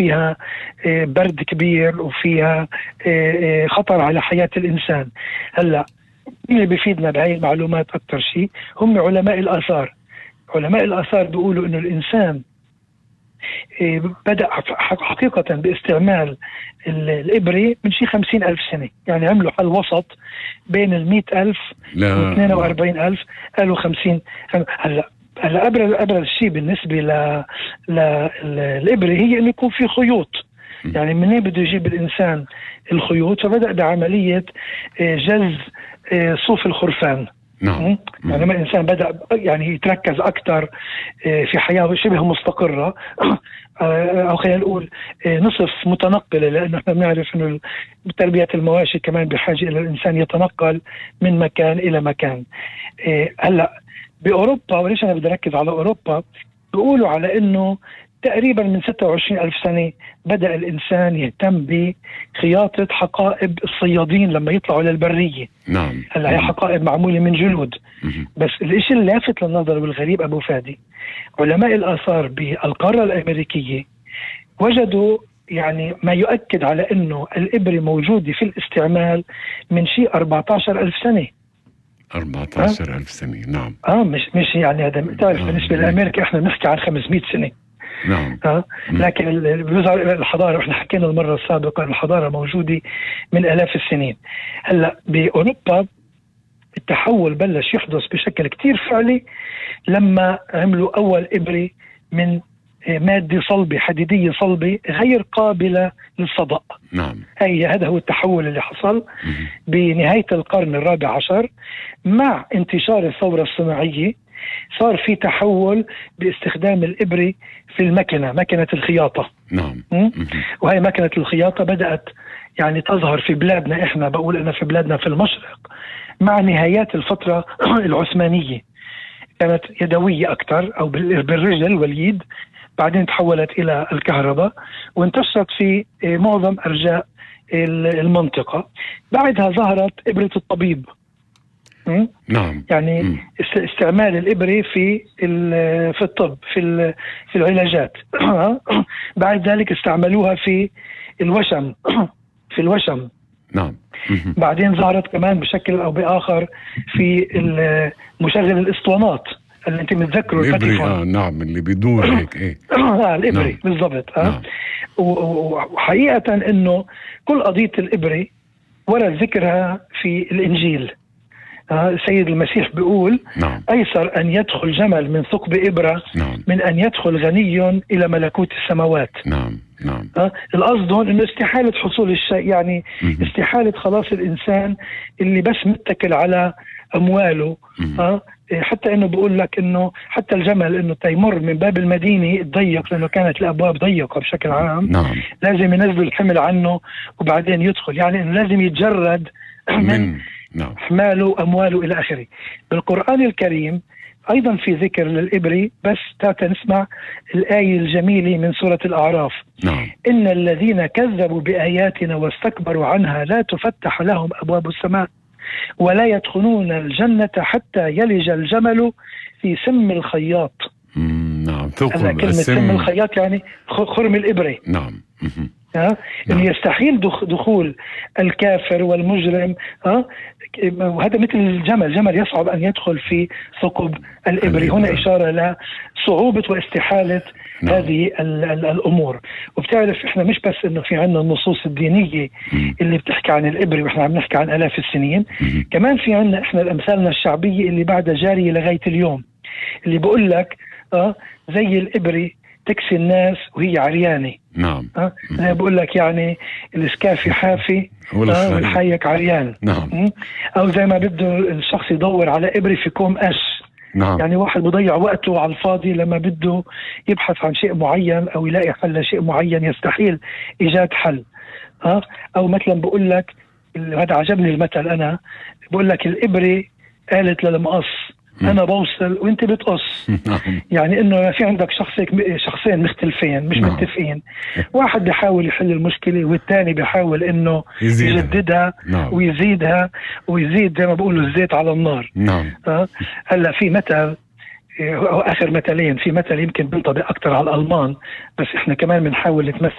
فيها برد كبير وفيها خطر على حياة الإنسان. هلأ اللي بيفيدنا بهاي المعلومات أكتر شيء هم علماء الآثار. علماء الآثار بيقولوا إنه الإنسان بدأ حقيقة باستعمال الإبرة من شي 50,000 سنة، يعني عملوا حل وسط بين 100,000 و 42,000، قالوا 50. هلا أبرز شيء بالنسبة للإبرة هي إنه يكون في خيوط. يعني منين بده يجيب الإنسان الخيوط؟ فبدأ بعملية جز صوف الخرفان. نعم. يعني لما الإنسان بدأ يعني يتركز أكثر في حياة شبه مستقرة، أو خلينا نقول نصف متنقلة، لأنه احنا بنعرف إنه تربية المواشي كمان بحاجة إلى الإنسان يتنقل من مكان إلى مكان. هلا بأوروبا، وليش أنا بدي أركز على أوروبا، بيقولوا على إنه تقريبا من 26,000 سنة بدأ الإنسان يهتم بخياطة حقائب الصيادين لما يطلعوا للبرية. نعم. هلا هي حقائب معمولة من جلود. بس الاشي اللافت للنظر والغريب أبو فادي، علماء الآثار بالقارة الأمريكية وجدوا يعني ما يؤكد على إنه الإبرة موجودة في الاستعمال من شيء 14,000 سنة. 14,000 سنة. نعم. مش يعني هذا تعرف بالنسبة لأمريكا احنا بنحكي عن 500 سنة. نعم. لكن الحضارة، احنا حكينا المرة السابقة، الحضارة موجودة من آلاف السنين. هلا بأوروبا التحول بلش يحدث بشكل كتير فعلي لما عملوا أول إبرة من مادة صلبة، حديدية صلبة غير قابلة للصدأ. نعم. هذا هو التحول اللي حصل بنهاية القرن الرابع عشر مع انتشار الثورة الصناعية. صار في تحول باستخدام الإبرة في مكنة الخياطة. نعم. وهي مكنة الخياطة بدأت يعني تظهر في بلادنا، احنا بقول أنا في بلادنا في المشرق مع نهايات الفترة العثمانية، كانت يدوية أكثر أو بالرجل واليد، بعدين تحولت إلى الكهرباء وانتشرت في معظم أرجاء المنطقة. بعدها ظهرت إبرة الطبيب. نعم. يعني استعمال الإبرة في الطب، في العلاجات. بعد ذلك استعملوها في الوشم. نعم. بعدين ظهرت كمان بشكل أو بآخر في مشغل الإسطوانات اللي انت متذكره، الإبري. نعم، اللي بيدور هيك. ايه الإبري. نعم. بالضبط. نعم. وحقيقة انه كل قضية الإبري ورد ذكرها في الإنجيل. السيد المسيح بيقول نعم. أيسر أن يدخل جمل من ثقب إبرة نعم. من أن يدخل غني إلى ملكوت السماوات. نعم. نعم. القصد هون إنه استحالة حصول الشيء، يعني استحالة خلاص الإنسان اللي بس متكل على أمواله. حتى إنه بقول لك إنه حتى الجمل إنه تيمر من باب المدينة الضيق، لأنه كانت الأبواب ضيقة بشكل عام. نعم. لازم ينزلوا الحمل عنه وبعدين يدخل، يعني إنه لازم يتجرد من نعم. حماله أمواله إلى آخره. بالقرآن الكريم أيضا في ذكر للإبري، بس تعال نسمع الآية الجميلة من سورة الأعراف. نعم. إن الذين كذبوا بآياتنا واستكبروا عنها لا تفتح لهم أبواب السماء ولا يدخلون الجنة حتى يلج الجمل في سم الخياط. نعم. كلمة سم الخياط يعني خرم الإبرة. نعم. إنه يستحيل دخول الكافر والمجرم. وهذا مثل الجمل يصعب أن يدخل في ثقب الإبري. هنا إشارة لصعوبة واستحالة هذه الأمور. وبتعرف إحنا مش بس إنه في عنا النصوص الدينية اللي بتحكي عن الإبري وإحنا عم نحكي عن آلاف السنين، كمان في عنا إحنا الأمثالنا الشعبية اللي بعدها جارية لغاية اليوم، اللي بقول لك زي الإبري تكسي الناس وهي عريانة. نعم. أنا بقول لك يعني الإسكافي حافي والحايك عريان. نعم. أو زي ما بده الشخص يدور على إبري في كوم قش. نعم. يعني واحد بضيع وقته على الفاضي لما بده يبحث عن شيء معين أو يلاقي حل لشيء معين، يستحيل إيجاد حل. أو مثلا بقول لك، هذا عجبني المثل، أنا بقول لك الإبري قالت للمقص أنا بوصل وأنت بتقص. يعني إنه في عندك شخصين مختلفين مش متفقين، واحد بيحاول يحل المشكلة والثاني بيحاول إنه يجددها ويزيدها ويزيد زي ما بقولوا الزيت على النار. هلا في مثل، آخر مثلين، في مثل يمكن بينطبق أكتر على الألمان بس إحنا كمان بنحاول نتمثل